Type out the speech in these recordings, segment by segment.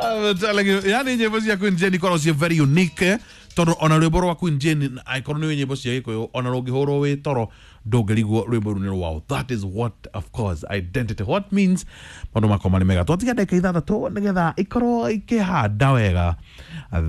I'm telling you, yani nyĩmbo cia Queen Jane ikoragwo ciĩ very unique, tondũ ona rwĩmbo rwa Queen Jane angĩkorwo nĩ nyĩmbo cia Gĩkũyũ, ona rũngĩhũrwo wĩ toro ndũngĩrigwo rwĩmbo rũu nĩ rwao. That is what, of course, identity what means. Maũndũ makwa marĩ mega. Twatiga ndagĩka 6 nĩgetha ikorwo ikĩhanda wega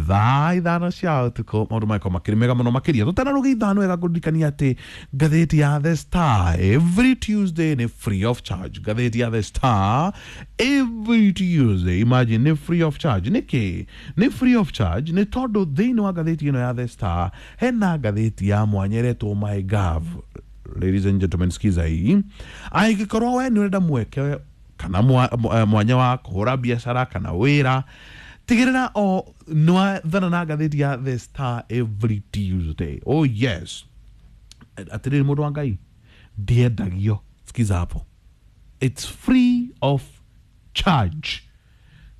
thaa 5 cia ũtukũ, maũndũ magĩkorwo makĩrĩ mega mũno makĩria. Tũtanarũgĩa 5 wega, ngũririkania atĩ ngathĩti ya The Star every Tuesday nĩ free of charge. Ngathĩti ya The Star every Tuesday, imagine, nĩ free of charge. Nĩkĩ nĩ free of charge? Nĩ tondũ thĩinĩ wa ngathĩti ĩno ya The Star hena ngathĩti ya mwanya ĩretwo My Gov. Ladies and gentlemen, sikiza hii. Angĩkorwo we nĩ ũrenda mweke kana mwanya wa kũhũra biacara kana wĩra, tigĩrĩra o nĩwathana na ngathĩti ya The Star every Tuesday. Oh yes, atĩrĩrĩ mũndũ wa Ngai, ndiendagio. Sikiza hapo, it's free of charge.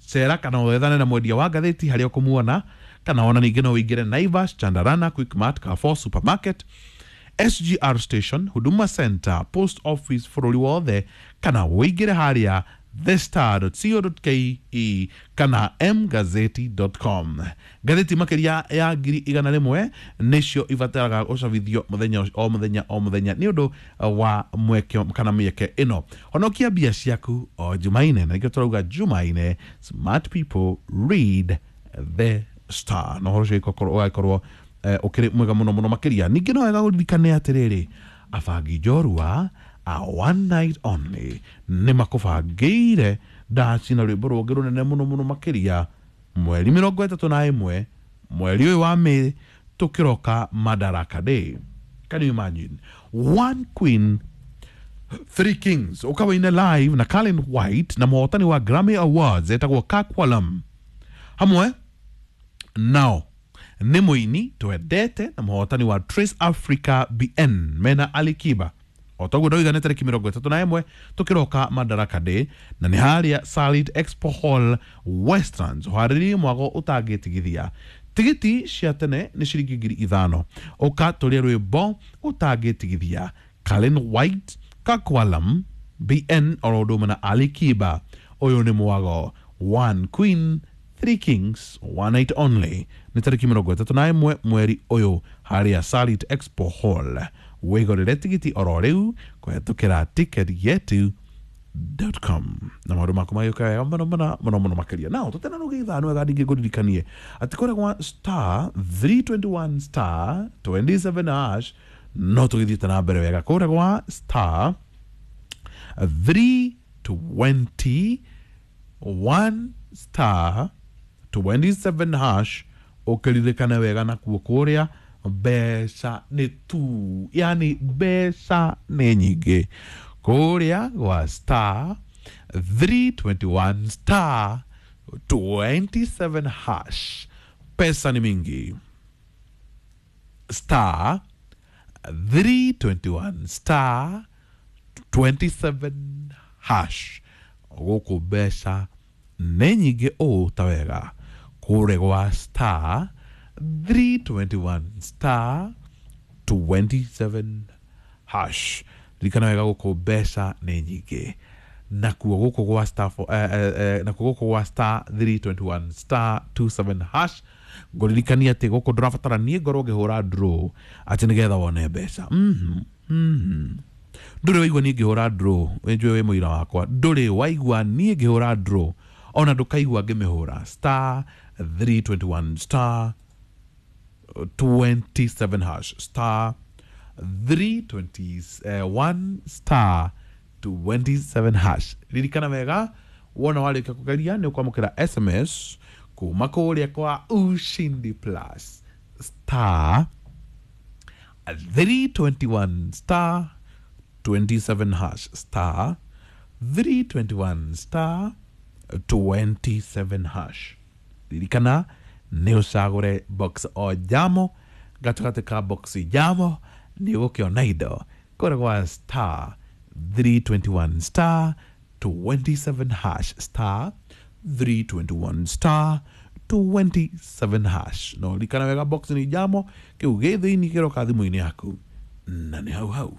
Cera kana wethane na mwendia wa ngathĩti harĩa ũkũmuona, kana ona ningĩ no ũingĩre Naivas, Chandarana, Quickmart, Carrefour Supermarket, SGR Station, Huduma Center, Post Office bũrũri wothe, kana ũingĩre harĩa thestar.co.ke kana mgazeti.com. Ngathĩti makĩria ya 100,000 nĩcio ibataraga gũcabithio mũthenya o mũthenya o mũthenya nĩ ũndũ wa mweke kana mĩeke ĩno. Honokia mbia ciaku o Jumaine, na nĩkĩo tũrauga Jumaine, smart people read The Star, na ũhoro ũcio ũgagĩkorwo ũkĩrĩ mwega mũno mũno makĩria. Ningĩ no wega ũririkane atĩrĩrĩ, abangi njorua a one night only nĩ makũbangĩire ndaci na rwĩmbo rũngĩ rũnene mũno mũno makĩria mweri 31 mweri ũyũ wa May, tũkĩroka Madaraka Day. Can you imagine? One queen, three kings. Ũkawaine live na Colin White na mũhotani wa Grammy Awards etagwo Kakwalam. Hamwe nao nĩ mũini twendete na mũhotani wa Trace Africa BN mena Ali Kiba. O toguo ndoiga, nĩ tarĩki 31 tũkĩroka Madaraka Day, na nĩ harĩa Salit Expo Hall, Westlands. Ũharĩrie mwago ũtangĩtigithia. Tigiti cia tene nĩ ciringi 5,000. Ũka tũrĩe rwĩmbo ũtangĩtigithia. Colin White, Kakwalam, BN oro ũndũ ũmwe na Ali Kiba. Ũyũ nĩ mwago One Queen, Three Kings, one night only. Nĩ tarĩki 31 mweri ũyũ harĩa Salit Expo Hall. Wĩgũrĩre tigiti oro rĩu kũhetũkĩra ticketyetu.com na maũndũ maku magĩũka wega mũno mũno mũno mũno makĩria. Nao tũtenarũgĩa 5 wega, ningĩ ngũririkanie atĩ kũrĩa gwa star 321 star 27 hash no tũgĩthiĩte na mbere wega. Kũrĩa gwa star 321 star 27 hash, ũkĩririkane wega nakuo kũrĩa mbeca nĩ tu, yani mbeca nĩ nyingĩ kũrĩa gwa star 321 star 27 hash. Pesa ni mingi. Star 321 star 27 hash, gũkũ mbeca nĩ nyingĩ ũũ ta wega. Kũrĩa gwa star 321 star 27 hash, ririkana wega, gũkũ mbeca nĩ nyingĩ. Nakuo gũkũ gwa star nakuo gũkũ gwa star 321 star 27 hash, ngũririkania atĩ gũkũ ndũrabatara niĩ ngorwo ngĩhũra draw atĩ nĩgetha wone mbeca. Ndũrĩ waigua niĩ ngĩhũra draw, njũĩ wĩ mũira wakwa, ndũrĩ waigua niĩ ngĩhũra draw, ona ndũkaigua ngĩmĩhũra. Star 321 star 27 hash, star 321 star 27 hash. Ririkana wega, wona warĩkia kũgeria nĩ ũkwamũkĩra SMS kuma kũrĩa kwa Ushindi Plus. Star 321 star 27 hash, star 321 star 27 hash. Ririkana nĩ ũcagũre box o jamo gatagatĩ ka box jamo, nĩ ũgũkĩona indo kũrĩa gwa star 321 star 27 hash, star 321 star 27 hash. No ririkana wega, box nĩ jamo, kĩu gĩ thĩinĩ kĩroka thimũ-inĩ yaku na nĩ hau hau.